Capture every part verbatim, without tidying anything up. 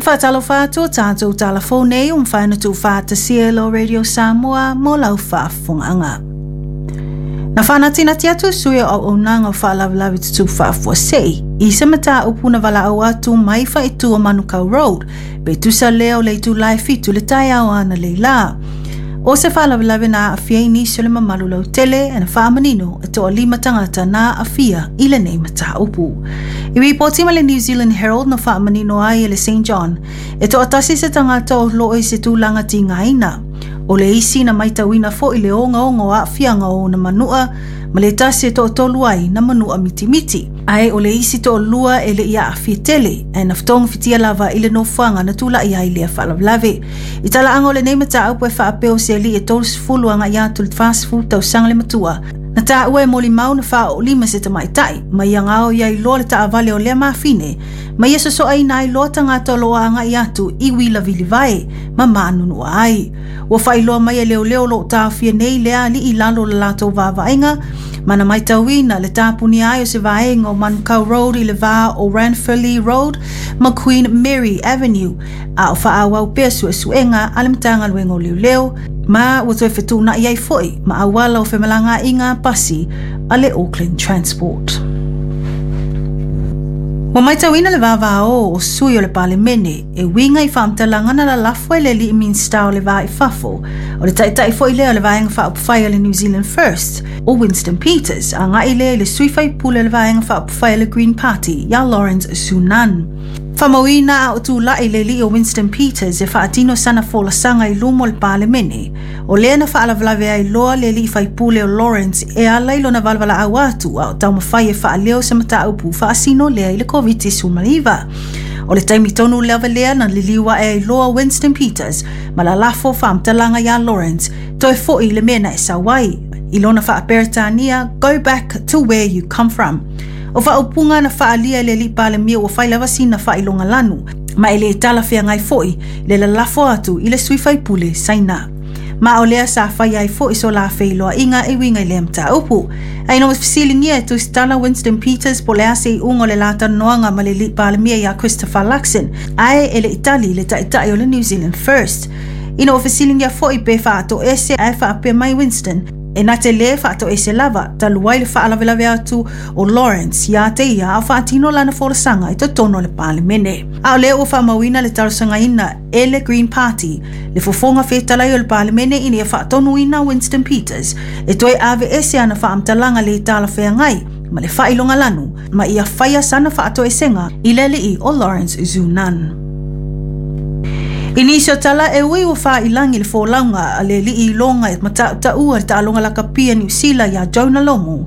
Faatalofa atu o tatou talafou nei ua mafai ona tuufaatasia e lo Radio Samoa mo lau faafofogaaga. Na faanatinati atu sui o auaunaga o faalavelave tutupu faafuasei i se mataupu na valaau atu mai faaitu o Manukau Road pe tusa lea o le itula e fitu le taeao analeila. O se faalavelave na aafia ai nisi o le mamalu lautele na faamanino e toalima tagata na aafia i lenei mataupu. I ripoti ma le New Zealand Herald na faamanino ai e le Saint John e toatasi se tagata o loo i se tulaga tigaina. O le isi na maitauina foi le ogaoga o aafiaga o ona manua ma le tasi e toatolu ai na manua mitimiti. Ae o le isi toalua e le i aafia tele ae na fotogafitia lava i le nofoaga na tula'i ai lea faalavelave. I talaaga o lenei mataupu e faapea o se alii e tolusefulu agai atu le fasefulu tausaga le matua. Na taua e molimau na faaoolima se tamaitai ma ia gaoi ai loa le taavale o lea mafine ma ia sosoaina ai loa tagata o loo agai atu i uila vilivae ma manunua ai. Ua faailoa mai e leoleo o loo taofia nei lea alii i lalo o le latou vaavaaiga ma na maitauina le tapunia ai o se vaega o Manukau Road i le va o Ranfurly Road ma Queen Mary Avenue a o faaauau pea suesuega a le Matagaluega o Leoleo ma ua toe fetuunai ai foi ma auala o femalagaaiga pasi a le Auckland Transport. Ua maitauina le vavao o sui o le Palemene e uiga i faamatalaga na lalafo e le alii Minisita o le Va i Fafo o le taitai foi lea o le Vaega Faaupufai a le New Zealand First o Winston Peters agai lea i le sui faipule o le Vaega Faaupufai a le Green Party ia Lawrence Zunan. Faamauina a o tulai le alii o Winston Peters e faatino sana folasaga i luma o le Palemene. O lea na faalavelave ai loa le alii faipule o Lawrence e ala i lona valavala atu a o taumafai e faaleo se mataupu faasino lea i le COVID nineteen. O le taimi tonu lava lea na liliu ae ai loa Winston Peters ma lalafo faamatalaga ia Lawrence toe foi i le mea na e sau ai. I lona faaperetania, "Go back to where you come from." O faaupuga na faaalia e le alii Palemia ua fai lava sina faailoga lanu, ma e le talafeagai foi le lalafo atu i le sui faipule Saina. Ma o lea sa fai ai foi so la feiloaiga e uiga i lea mataupu. Ae ina ua fesiligia e tusitala Winston Peters po o le a se iuga o le latalanoaga ma le alii Palemia ia Christopher Luxon, ae e le i tali le taitai o le New Zealand First. Ina ua fesiligia foi pe faatoese ae faapea mai Winston, e na te lē faatoese lava talu ai le faalavelave atu o Lawrence ia te ia a o faatino lana folasaga i totonu o le Palemene. A o lea ua faamauina le talosagaina e le Green Party le fofoga fetalai o le Palemene ina ia faatonuina Winston Peters e toe ave ese ana faamatalaga le talafeagai ma le faailoga lanu ma ia faia sana faatoesega i le alii o Lawrence Zunan. I nisi o tala e ui ua faailangi le folauga a le alii iloga e matautaua le taaloga lakapi a Niu Sila ia Jonah Lomu,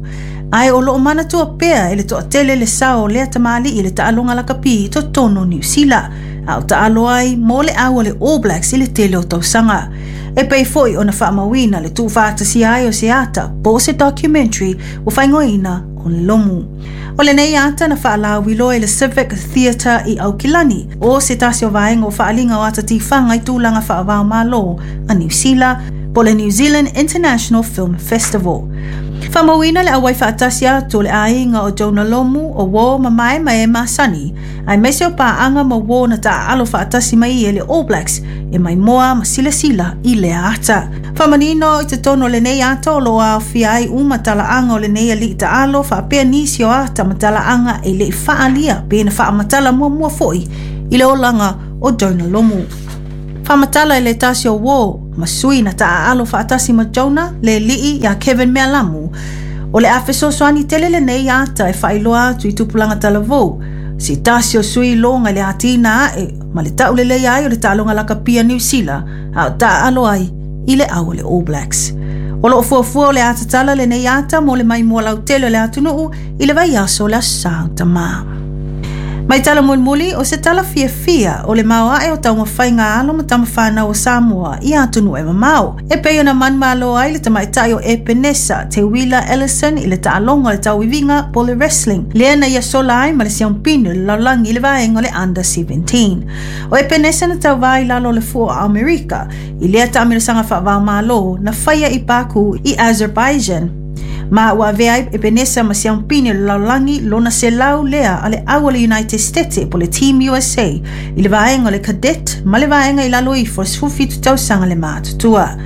ae o loo manatua pea e le toatele le sao o lea tamalii i le taaloga lakapi i totonu o Niu Sila a o taalo ai mo le au a le All Blacks i le tele o tausaga. E pei foi ona faamauina le tuufaatasia ai o se ata po o se documentary ua faaigoaina o Lomu. O lenei ata na faalauiloa i le Civic Theatre i Aukilani, o se tasi o vaega o faaliga o ata tifaga i tulaga faava-o-Malo a Niu Sila, po le New Zealand International Film Festival. Faamauina le auai faatasi atu o le aiga o Jonah Lomu o uo ma mae ma e masani, aemaise o paaga ma uo na taaalo faatasi mai e le All Blacks e maimoa ma silasila i lea ata. Faamanino i totonu o lenei ata o loo aofia ai uma talaaga o lenei alii taalo faapea nisi o ata ma talaaga e lei faalia pe na faamatala muamua foi i le olaga o Jonah Lomu. Faamatala e le tasi o uo ma sui na taaalo faatasi ma Jonah le alii ia Kevin Mealamu. O le a fesoasoani tele lenei ata e faailoa atu i tupulaga talavou. Se tasi o sui iloga i le atina ae ma le taulelei ai o le taaloga lakapi a Niu Sila a o taaalo ai i le au o le All Blacks. O loo fuafua o le a tatala lenei ata mo le maimoa lautele o le atunuu i le vaiaso o le Aso Sa o Tamā. Mai tala mulimuli o se tala fiafia o le maoae o taumafaiga alo ma tamafanau o Samoa i atunuu e mamao. E pei ona manumalo ai le tamaitai o Epenesa Teuila Ellison i le taaloga o le tauiviga po le wrestling. Lea na ia sola ai ma le siampino i le lalolagi i le vaega o le Under seventeen. O Epenesa na tauvā i lalo o le fua o Amerika i lea taamilosaga faava-o-Malo na faia i Baku i Azerbaijan. Ma ua avea ai Epenesa ma se aupini o le lalolagi lona selau lea a le au o le United States po le Team U S A i le vaega o le cadet ma le vaega i lalo ifo o le sefulufitu tausaga le matutua.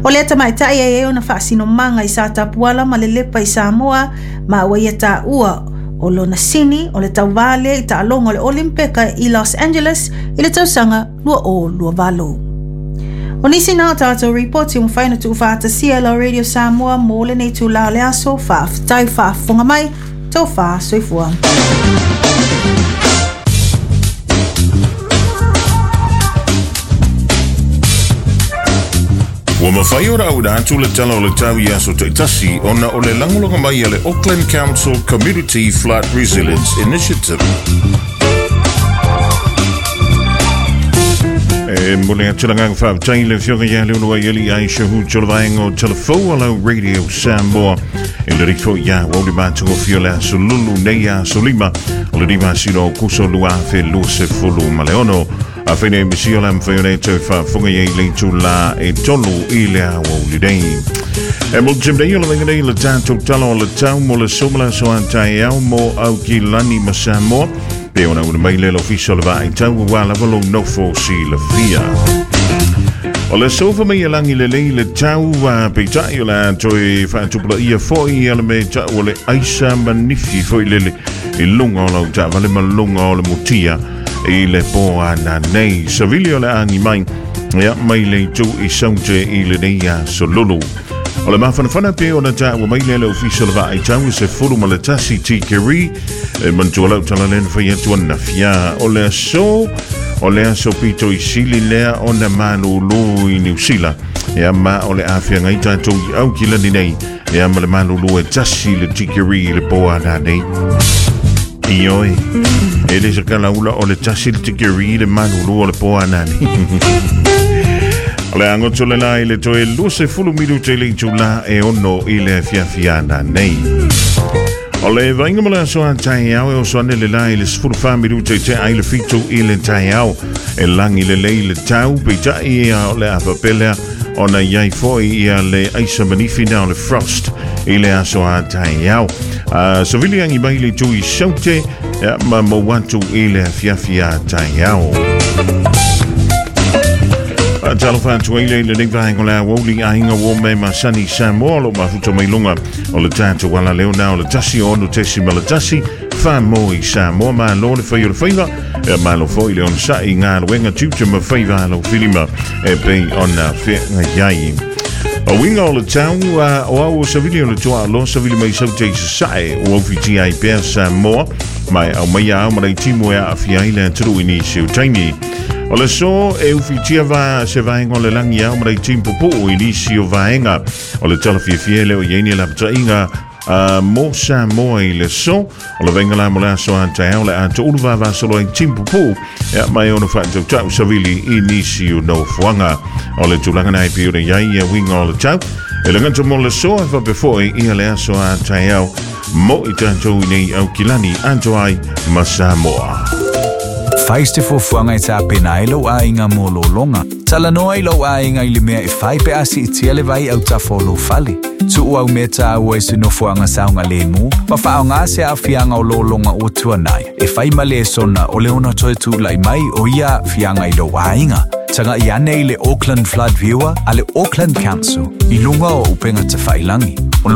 O lea tamaitai ai e ona faasinomaga i sa tapuala ma le lepa i Samoa ma ua ia taua o lona sini o le tauvā lea i taaloga o le Olimpeka i Los Angeles i le tausaga lua o lua valo. O nisi na o tātou ripoti o mawhai na tuuwhaatasia la Radio Samoa mō lenei tūlā o le aso, whaaftai whaafonga mai, tō wha soifua. Ua mawhai ora au atu le tala o le tau i aso taitasi ona o le langolonga mai a le Auckland Council Community Flood Resilience Initiative. E mole atu la nganga whaaptai le fioga ia le unua iali ai shahu tolovaenga o telefo alau Radio Samoa. E le rikfo ia wauli mātungo fio le aso lulu nei aso lima o le rima sino o kuso lua afe lua se fulu maleono. A whaine misi o la mwhai o nei tau whaafunga iei leitu la e tolu i le awauli nei. E mo tim nei o le venga nei le tātou tala o le tau mo le somala so antai au mo au ki lani ma Samoa. Pe ona una mai le ofisa o le vaai tau ua lava lo nofo si le fia. O le sofa mai e langi le lei le tau a peitai o la toi whaatupula ia foi a le me tau o le aisa manifi foi lele i lunga o lau ta vale ma lunga o le mutia i le poa na nei. Savili o le angi mai ia mai le tu i saute i le nei a solulu. O le mawhanawhana pe o na tāua mai le le ofisa le vaai tau se fulu ma le tasi tikeri e mantua lau tala lena whai atu ana fia. O le aso, o le aso pito i sili lea o na malulu i New Zealand. Ea ma o le awhia ngai tātou i au ki lani nei. Ea ma le malulu e tasi le tikeri i le poa nā nei. Ioi, e le sakala ula o le tasi le tikeri i le malulu o le poa nā nei. O le angoto le la i le toe luse fulu minute le itu la e ono i le fiafiana nei. O le vainga mo le aso a tai au e o soane le la i le sefulu wha minute te ai le fitu i le tai au. E langi le lei le tau peitai ia o le awapelea o na iai foi ia le aisa manifi na o le frost i le aso a tai au. Uh, Savili angi mai le tui saute ia, ma mo watu i le fiafia tai au. Talo whantua ile le nei vaenga le awoli ainga wo me masani Samoa lo mafuta mai lunga o le tātou wala leo na o le tasi o ono tesi ma le tasi wha mo i Samoa ma lo le whai o le whaiva e ma lo fo i le ona sa i ngā luenga tuta ma whaiva alo filima e pei ona whenga iai. O winga o le tau o au o savili o le toa alo savili mai saute i sasae o au whiti ai pea Samoa mai au mai au marei timu e a awhia i le aturu i nisi o taini. O le so e uwhitia va se vaenga o le langi au marei timu popo i nisi o vaenga. O le tala fiafia le o yeini la patainga uh, mo Samoa i le so. O le vaenga la mo le aso anta au le ata ulu vava solo ai timu popo. Ea mai ono whaatau tau savili i nisi o no fuanga. O le tūlanga nai pi ora iai ia winga o le tau. E le ngata mo le so e whapefoi i le aso anta au mo i tātou i nei au kilani anto ai ma Samoa. Faiste fuafuaga e tapena ai lou aiga mo lologa. Talanoa i lou aiga i le mea e fai pe a siitia le vai autafa o lou fale. Tuu au mea tāua i se nofoaga saogalemu, ma faaaogā se aafiaga o lologa ua tuanai. E fai ma lesona o le ona toe tula'i mai o ia aafiaga i lou aiga. Taga'i ane i le Auckland Flood Viewer a le Auckland Council i luga o upega tafailagi. O